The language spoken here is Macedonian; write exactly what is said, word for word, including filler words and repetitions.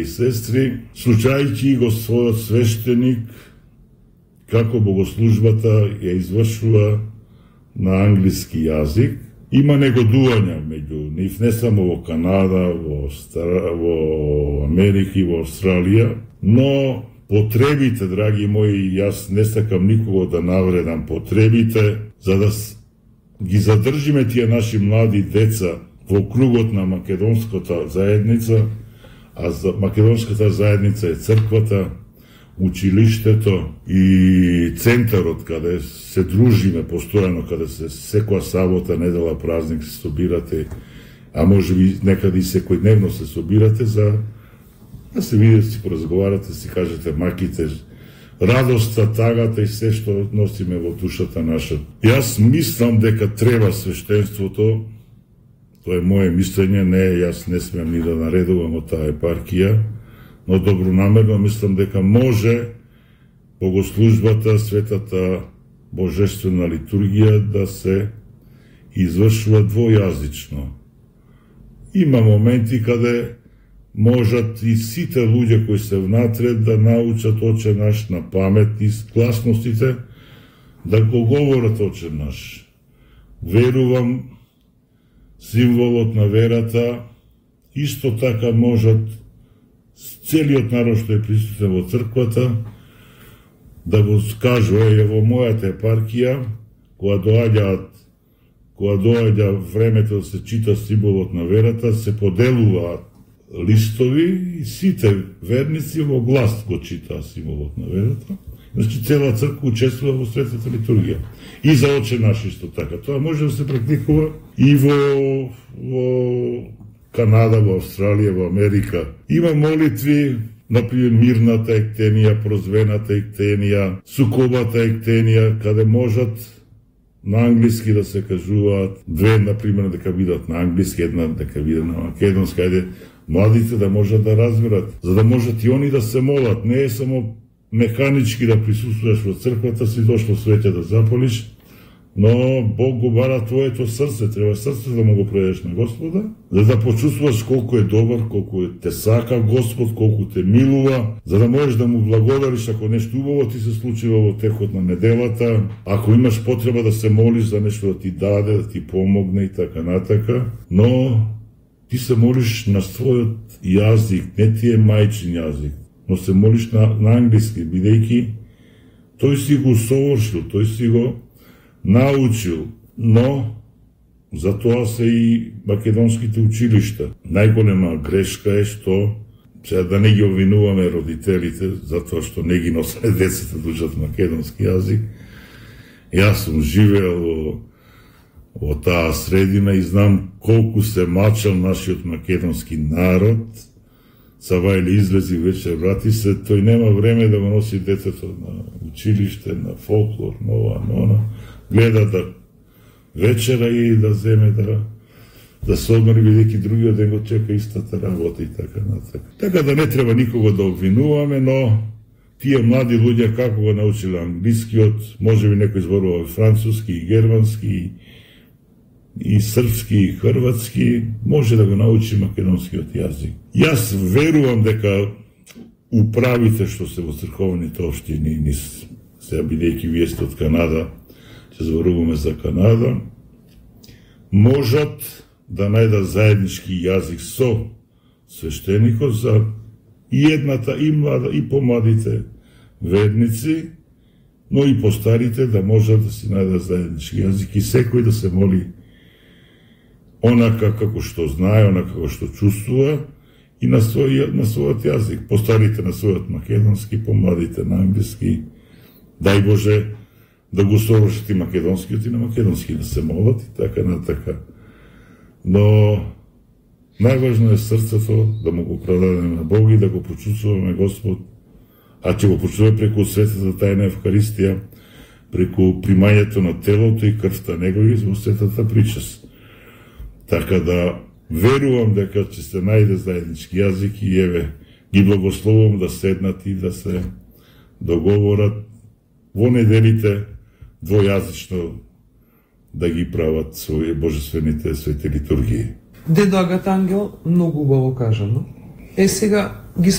и сестри, слушајќи го својот свештеник како богослужбата ја извршува на англиски јазик, има негодување меѓу нив, не само во Канада, во, Стар... во Америка и во Австралија, но потребите, драги мои, јас не сакам никого да навредам, потребите за да ги задржиме тие наши млади деца во кругот на македонската заедница, а за македонската заедница е црквата, училиштето и центарот каде се дружиме постојано, каде се секоја сабота, недела, празник се собирате, а може би некаде и секојдневно се собирате за да се видите, си поразговарате, си кажете маките, радоста, тагата и се што носиме во душата наша. Јас мислам дека треба свештенството, тоа е моје мислење, не, јас не смеам ни да наредувам од таа епархија, но добронамерно мислам дека може богослужбата, светата божествена литургија да се извршува двојазично. Има моменти каде можат и сите луѓе кои се внатре да научат Оче наш на памет и гласностите да го говорат Оче наш. Верувам, символот на верата исто така можат целиот народ што е присутен во црквата да го скажува, е во мојата епархија, кога доаѓаат кога доаѓа времето да се чита символот на верата, се поделуваат листови и сите верници во глас го читаа символот на верата. Значи цела црква учествува во светата литургија. И за Оче наш исто така. Тоа може да се практикува и во, во Канада, во Австралија, во Америка. Има молитви, например, мирната ектенија, прозвената ектенија, сукобата ектенија, каде можат на англиски да се кажуваат, две, например, дека бидат на англиски, една дека биде на македонски, ајде, младите да можат да разберат, за да можат и они да се молат. Не е само механички да присуствуваш во црквата, си дошло свеќе да запалиш, но Бог го бара твоето срце, треба срце да му го предадеш на Господа, за да почувствуваш колку е добар, колку те сака Господ, колку те милува, за да можеш да му благодариш ако нешто убаво ти се случува во текот на неделата, ако имаш потреба да се молиш за нешто да ти даде, да ти помогне и така натака, но ти се молиш на својот јазик, не ти е мајчин јазик, но се молиш на, на англиски, бидејќи тој си го совршил, тој си го научил, но за тоа се и македонските училишта. Најголема грешка е што, сега да не ги обвинуваме родителите, затоа што не ги носат децата да учат македонски јазик. Јас сум живеел во, во таа средина и знам колку се мачал нашиот македонски народ. Сава или излези вечер, врати се, тој нема време да го носи детето на училиште, на фолклор, на ова, на она. Гледа да вечера и да земе да да се одмори, бидејќи другиот ден го чека истата работа и така натака. Така да не треба никого да обвинуваме, но тие млади луѓе како го научиле англискиот, можеби некој зборува француски и германски и српски и хрватски, може да го научи македонскиот јазик. Јас верувам дека управите што се во црковните општини, низ сега бидејќи вие сте од Канада, ќе зборуваме за Канада, можат да најдат заеднички јазик со свештеникот за и едната, и млада, и помладите верници, но и постарите да можат да си најдат заеднички јазик и секој да се моли онака како што знае, онака како што чувствува и на, свој, на својот јазик. Постарите на својот македонски, помладите на англиски. Дај Боже да го совршат и македонскиот и на македонски да се молат и така на така. Но најважно е срцето да му го предадеме на Бог и да го почувствуваме Господ, а ќе го почувствуваме преку светата тајна Евхаристија, преку примањето на телото и крвта Негови во светата причест. Така да верувам дека ќе се најде заеднички јазик и еве ги благословувам да седнат и да се договорат во неделите двојазично да ги прават своје божествените свети литургии. Дедо Агат Ангел, многу убаво кажано. Е сега,